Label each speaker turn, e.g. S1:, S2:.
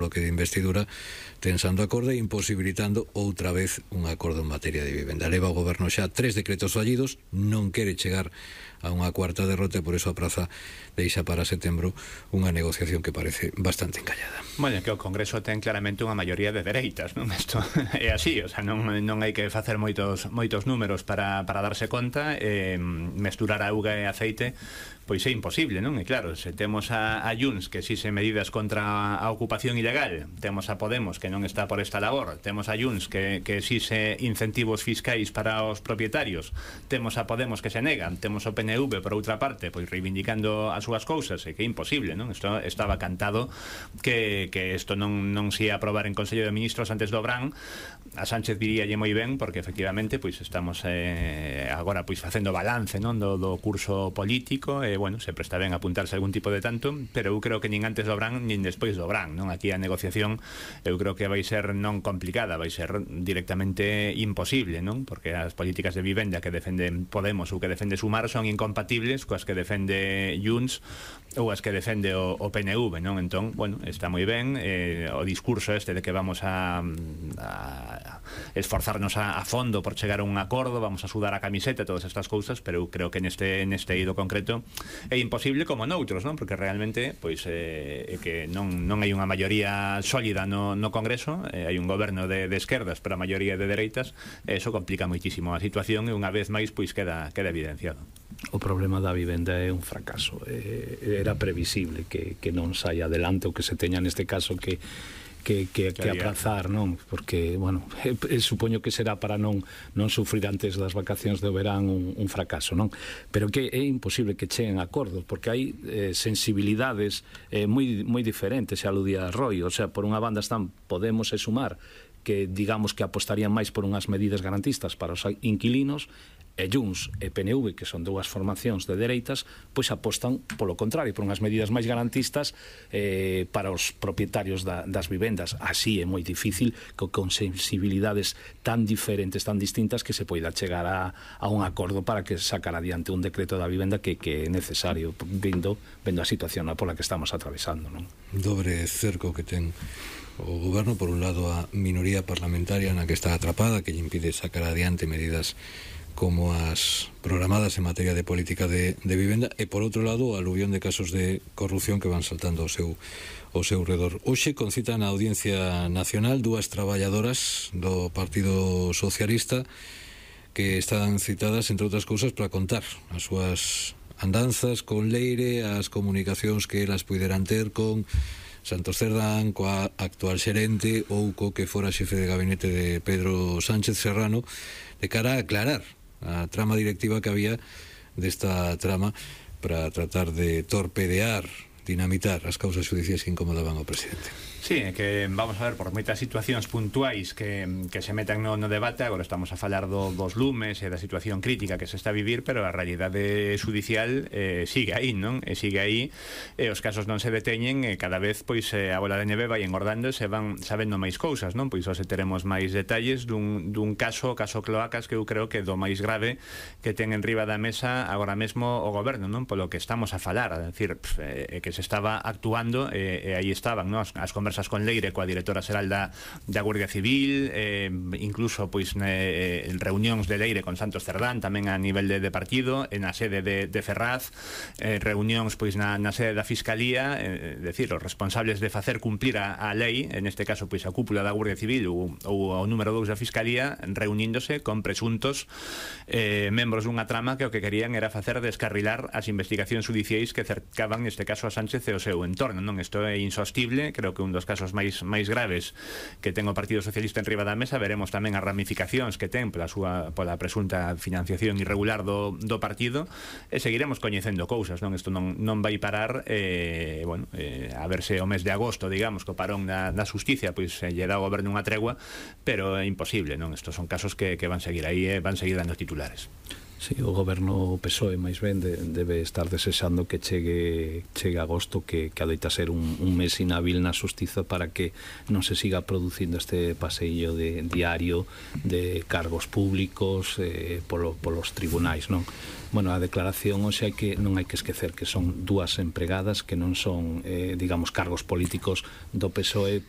S1: bloque de investidura tensando acordo e imposibilitando outra vez un acordo en materia de vivenda. Leva o goberno xa 3 decretos fallidos, non quere chegar a unha cuarta derrota e por eso a praza deixa para setembro unha negociación que parece bastante encallada.
S2: Bueno, que o Congreso ten claramente unha maioría de dereitas, non? Isto é así, o sea, non hai que facer moitos números para darse conta, mesturar auga e aceite pois é imposible, non? E claro, se temos a Junts que exixe medidas contra a ocupación ilegal, temos a Podemos que non está por esta labor, temos a Junts que exixe incentivos fiscais para os propietarios, temos a Podemos que se negan, temos o PNV por outra parte, pois reivindicando as súas cousas, e que é imposible, non? Isto estaba cantado que isto non se ia aprobar en Consello de Ministros antes do verán. A Sánchez diríalle moi ben, porque efectivamente pois estamos agora pois facendo balance, non, do curso político, e bueno, sempre está ben apuntarse algún tipo de tanto, pero eu creo que nin antes do verán nin despois do verán, non? Aquí a negociación eu creo que vai ser non complicada, vai ser directamente imposible, non? Porque as políticas de vivenda que defenden Podemos ou que defende Sumar son incompatibles coas que defende Junts ou as que defende o PNV, non? Entón, bueno, está moi ben o discurso este de que vamos a esforzarnos a fondo por chegar a un acordo, vamos a sudar a camiseta, todas estas cousas, pero eu creo que neste eido concreto é imposible como noutros, non? Porque realmente pois é que non hai unha maioría sólida no Congreso, hai un goberno de esquerdas pero a maioría de dereitas, e iso complica moitísimo a situación e unha vez máis pois queda evidenciado.
S3: O problema da vivenda é un fracaso, era previsible que non saia adelante, o que se teña neste caso que aprazar, non? Porque, bueno, supoño que será para non sufrir antes das vacacións de verán un fracaso, non? Pero que é imposible que cheguen acordos, porque hai sensibilidades moi diferentes, se aludía a Roy, o sea, por unha banda están Podemos e Sumar, que digamos que apostarían máis por unhas medidas garantistas para os inquilinos, e Junts e PNV, que son dúas formacións de dereitas, pois apostan polo contrario, por unhas medidas máis garantistas para os propietarios das vivendas. Así é moi difícil que con sensibilidades tan diferentes, tan distintas, que se poida chegar a un acordo para que sacar adiante un decreto da vivenda que é necesario, vendo a situación pola que estamos atravesando, non?
S1: Dobre cerco que ten o goberno, por un lado a minoría parlamentaria na que está atrapada, que lle impide sacar adiante medidas como as programadas en materia de política de vivenda, e por outro lado o aluvión de casos de corrupción que van saltando ao seu redor. Hoxe concita na Audiencia Nacional dúas traballadoras do Partido Socialista que están citadas, entre outras cousas, para contar as súas andanzas con Leire, as comunicacións que elas puideran ter con Santos Cerdán, coa actual xerente ou co que fora xefe de gabinete de Pedro Sánchez Serrano, de cara a aclarar a trama directiva que había desta trama para tratar de torpedear, dinamitar as causas judiciais que incomodaban ao presidente.
S2: Sí, é que vamos a ver por moitas situacións puntuais que se metan no debate. Agora estamos a falar dos lumes e da situación crítica que se está a vivir, pero a realidade judicial sigue aí, non? E sigue aí, e os casos non se deteñen, e cada vez pois a bola de neve vai engordando e se van sabendo máis cousas, non? Pois hoxe teremos máis detalles dun caso Cloacas, que eu creo que do máis grave que ten en riba da mesa agora mesmo o goberno, non? Polo que estamos a falar, a decir, que se estaba actuando e aí estaban, non? As conversas con Leire, coa directora xeral da Guardia Civil, incluso pois reunións de Leire con Santos Cerdán tamén a nivel de partido, na sede de Ferraz, reunións pois na sede da Fiscalía, decir, os responsables de facer cumplir a lei, en este caso pois a cúpula da Guardia Civil ou o número 2 da Fiscalía, reuníndose con presuntos membros dunha trama que o que querían era facer descarrilar as investigacións judiciais que cercaban neste caso a Sánchez e o seu entorno, non? Isto é insostible, creo que un dos casos máis graves que ten o Partido Socialista en riba da mesa. Veremos tamén as ramificacións que ten pola presunta financiación irregular do partido, e seguiremos coñecendo cousas, non? Isto non vai parar, a verse o mes de agosto, digamos, co parón da Xusticia, pois lle dá ao goberno unha tregua, pero é imposible, non? Estos son casos que van seguir aí e van seguir dando titulares.
S3: Sí, o goberno PSOE máis ben debe estar desexando que chegue agosto, que adoita ser un mes inhábil na xustiza, para que non se siga producindo este paseillo de diario de cargos públicos polos tribunais, non? Bueno, a declaración hoxe non hai que esquecer que son dúas empregadas que non son, digamos, cargos políticos do PSOE. Por